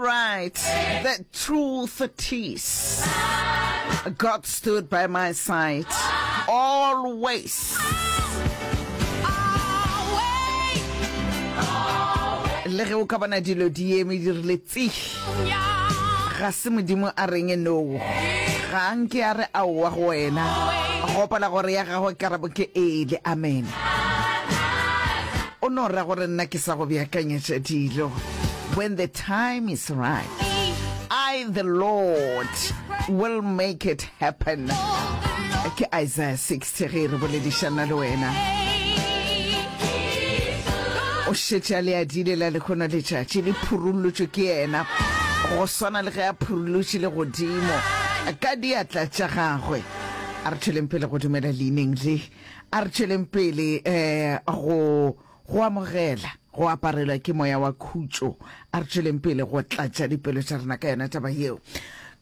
right, the truth is God stood by my side always. Le ge o ka bona dilo di eme di rile tsi, ga se Modimo a reng no. Ga nke a re aowa go wena. Gopola gore ya gagwe karabo ke ee le amen. O no ra gore nna ke sa go beakanyetša dilo. When the time is right, I the Lord will make it happen. Ke Isaiah 60 ge re boledišana le wena. O šetše a le adile la lehono letšatši le phurullotšwe ke yena go swana le ge a phurullotše le godimo ka diatla tša gagwe. A re tšweleng pele go dumela leineng le. A re tšweleng pele go go amogela go aparelwa ke moya wa khutšo. A re tšweleng pele go tlatša dipelo tša rena ka yona taba yeo.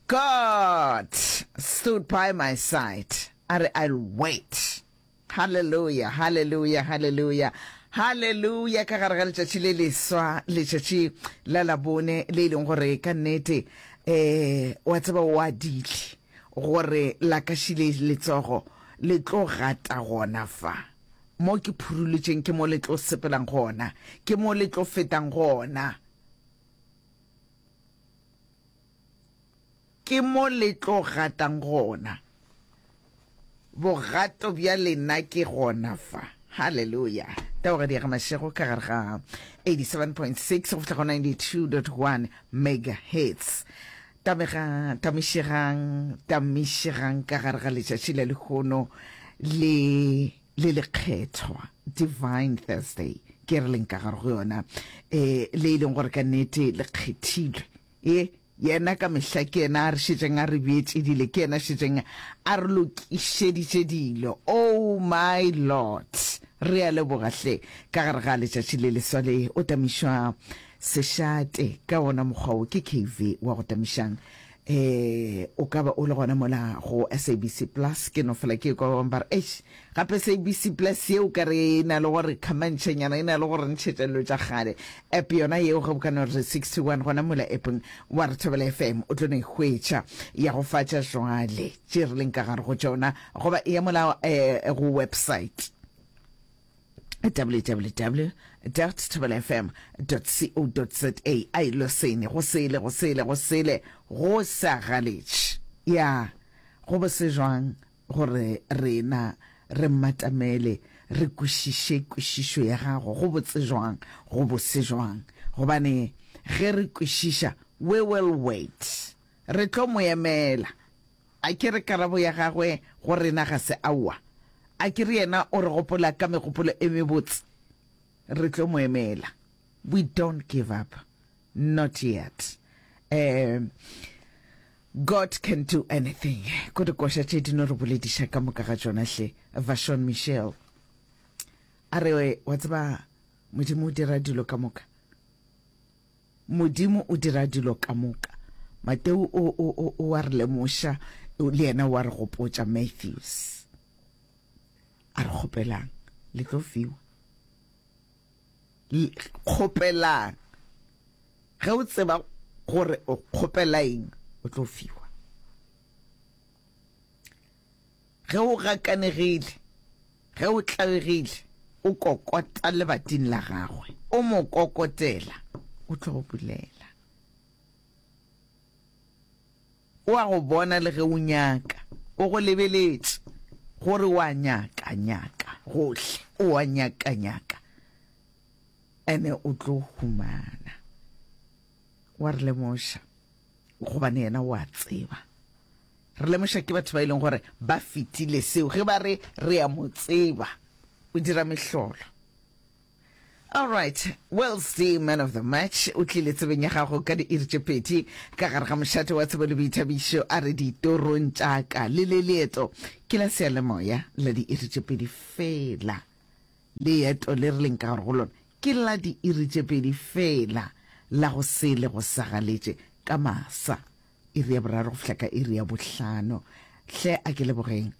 God stood by my side. A re, I'll wait. Hallelujah, hallelujah, hallelujah. Hallelujah ka gare ga letšatši le leswa, letšatši la Labone le e leng gore ka nnete eh wa tseba o adile gore la ka šile letsogo le tlo gata gona fa. Mo ke phurulotšeng ke mo le tlo sepelang gona, ke mo le tlo fetang gona. Ke mo le tlo gatang gona. Bogato bja lena ke gona fa. Haleluya. Taogadi ya ga Mashego ka gare ga 87.6 go fihla go 92.1 megahertz. Tamega, tamišegang, tamišegang ka gare ga letšatši la lehono le le lekgethwa, Divine Thursday, ke re leng ka gare go yona, e, le e leng gore ka nnete le kgethilwe. E, yena ka mehla ke yena a re šetšeng a re beetše dilo, ke yena šetšeng a re lokišeditše dilo. Oh my Lord! Re a leboga hle ka gare ga letšatši le leswa le, o tamišwa Sešate ka wona mokgwa wo ke KV wa go tamišang. Eh, o ka ba o le gona mola go SABC Plus, ke no fela ke kwa ba bangwe ba re, eish, gape SABC Plus ye o ka re e na le gore khamantšhenyana, e na le gore ntšhetša dilo tša kgale. App yona yeo ge o ka no re 61 gona mola appong wa re Thobela FM o tlo no e hwetša ya go fa tša jwale tše re leng ka gare go tšona, goba e ya mola eh, go website. www.thobelafm.co.za a ilo sene go sele go sele go sele go sa galetše ya go bose jwang gore rena re mmatamele re kwešiše kwešišo ya gago go botse jwang go bose jwang gobane ge re kwešiša we will wait re tlo mo emela A ke re karabo ya gagwe go rena ga se aowa? A ke re yena o re gopola ka megopolo e mebotse? Re tlo mo emela. We don't give up. Not yet. Um, God can do anything. Ko dikoša tše di no re bolediša ka moka ga tšona hle. Vashon Michelle. A re, wa tseba, Modimo o dira dilo ka moka. Modimo o dira dilo ka moka. Mateo o, o, o, o a re lemoša, le yena o a re gopotša, Matthews. A re kgopelang, le tlo fiwa. Kgopelang. Ge o tseba gore o kgopela eng, o tlo fiwa. Ge o gakanegile, ge o tlabegile, o kokota lebating la gagwe, o mo kokotela, o tlo go bulela. O a go bona le ge o nyaka, o go lebeletše, gore o a nyaka, nyaka, gohle, o a nyaka, nyaka, ene o tlo humana. Wa re lemoša, gobane yena o a tseba. Re lemoša ke batho ba e leng gore ba fetile seo ge ba re re a mo tseba o dira mehlolo. All right, Wellesley man of the match o tlile tsebeng ya gago ka diiri tše pedi ka gare ga mošate wa tsebo le boithabišo a re ditorong tša ka le le leeto ke la seyalemoya la diiri tše pedi fela. Leeto le re leng ka gare go lona ke la diiri tše pedi fela la go sele go sagaletše ka masa. Iri ya boraro go fihla ka iri ya bohlano. Hle a ke lebogeng,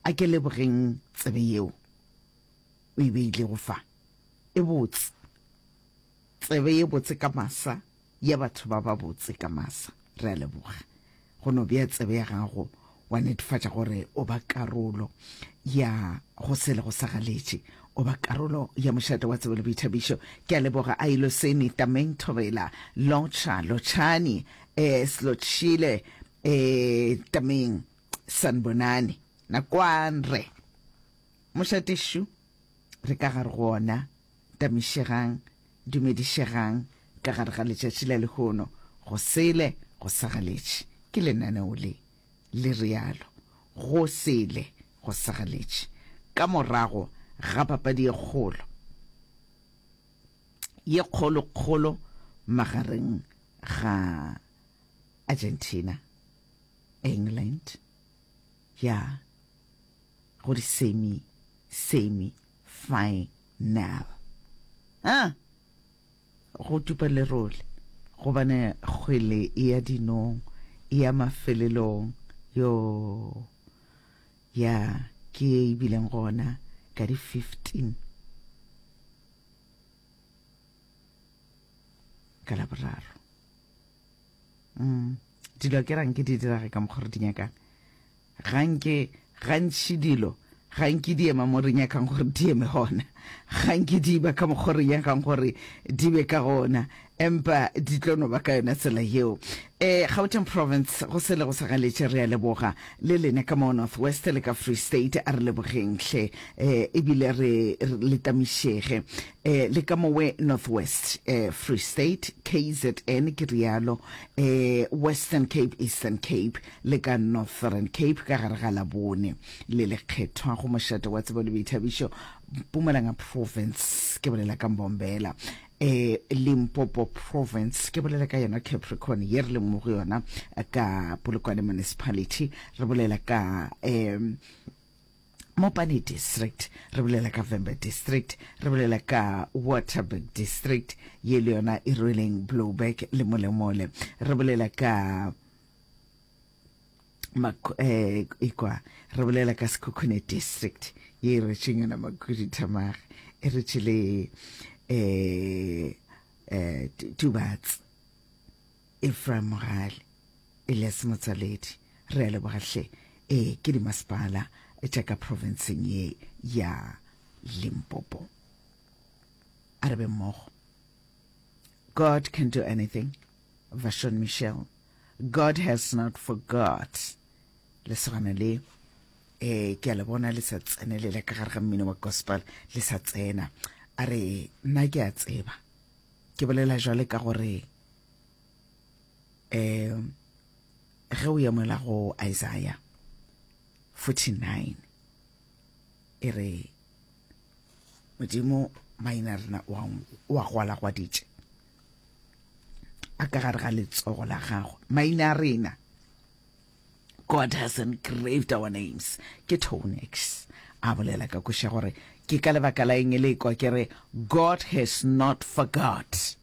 a ke lebogeng tsebe yeo o e beilego fa. E botse, tsebe ye botse ka masa. ya batho ba babotse ka masa. Re a leboga go no bea tsebe ya gago wa netefatša gore o ba karolo ya go sele go sa galetše, o ba karolo ya mošate wa tsebo le boithabišo. Ke a leboga Ailoseni, Tameng Thobela, Lotšha, Lotšhani, eh, Slotšhile, eh, Tameng, Sanbonani, Nakwanre. Mošate šu, re ka gare go ona, tamišegang, dumedišegang ka gare ga letšatši la lehono, go sele go sa galetše. Ke lenaneo le, le realo, go sele go sa galetše. Ka morago ga papadi ye kgolo, ye kgolokgolo magareng ga Argentina, England, ya go di semi, semi final. Ah! Go tupa lerole, gobane kgwele e ya dinong, e ya mafelelong. Yoo! Ya, ke ye e bileng gona ka di 15 ka Laboraro. Mm. Dilo ke rang ke di dirage ka mokgwa re di nyakang. Ga nke, gantši dilo ga nke di ema mo re nyakang gore di eme gona, ga nke di ba ka mokgwa re nyakang gore di be ka gona, empa di tlo no ba ka yona tsela yeo. E, Gauteng Province, go sele go sa galetše, re a leboga. Le lena ka mo North West le ka Free State, a re lebogeng hle, e, ebile re, re le tamišege. E, le ka mowe North West, e, Free State, KZN, ke rialo, e, Western Cape, Eastern Cape, le ka Northern Cape ka gare ga Labone le lekgethwa go mošate wa tsebo le boithabišo Mpumalanga Province, ke bolela ka Mbombela, e Limpopo Province, ke bolela ka yona Capricorn ye re leng mo go yona ka Polokwane Municipality, re bolela ka um Mopani District, re bolela ka Vhembe District, re bolela ka Waterberg District ye le yona e rweleng Blouberg le Molemole, re bolela ka eh, ikwa re bolela ka Sekhukhune District ye e rwetšeng yona Makhuduthamaga, e rwetše le eh, eh, Tubatse, Ephraim Mogale, Elias Motsoaledi. Re a leboga hle. Ee, ke dimasepala tša ka provinceng ye ya Limpopo. A re be mmogo. God can do anything. Vashon Michelle. God has not forgot. Lesogana le eh ke a le bona le sa tsenelela ka gare ga mmino wa gospel le sa tsena. A re nna ke a tseba. Ke bolela jwale ka gore eh ge o ya mola go Isaiah 49 e re Modimo maina rena o a gwalagwaditše a ka gare ga letsogo la gagwe maina a rena. God has engraved our names. Ke Tonex a bolela ka koša gore ke ka lebaka la eng le kwa ke re God has not forgot.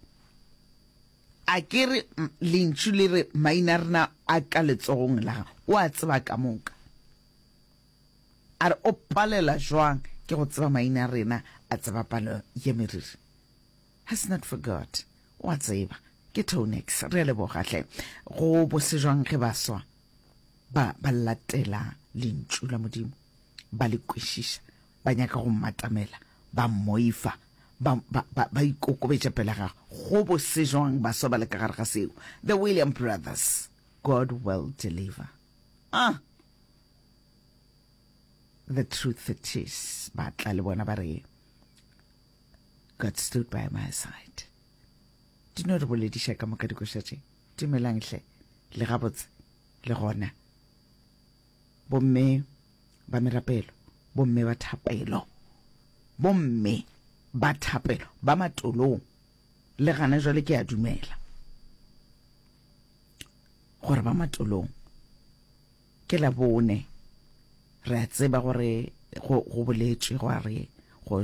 A ke re lentšu le re maina a rena a ka letsogong la gagwe, o a tseba ka moka. A re o palela jwang ke go tseba maina a rena, a tseba palo ya meriri. Has not forgot. O a tseba. Ke Tonex. Re a leboga hle. Go bose jwang ge baswa ba ba latela lentšu la Modimo, ba le kwešiša, ba nyaka go mmatamela, ba mmoifa, ba, ba, ba, ba ikokobetša pele ga gagwe. Go bose jwang baswa ba le ka gare ga seo. The William Brothers, God will deliver. Ah! The truth it is, ba tla le bona ba re, God stood by my side. Di no re bolediša ka moka dikoša tše. Dumelang hle, le gabotse, le gona. Bomme ba merapelo, bomme ba thapelo, bomme ba thapelo, ba matolong. Le gana jwale ke a dumela gore ba matolong. Ke Labone, re a tseba gore go, go boletšwe gwa re.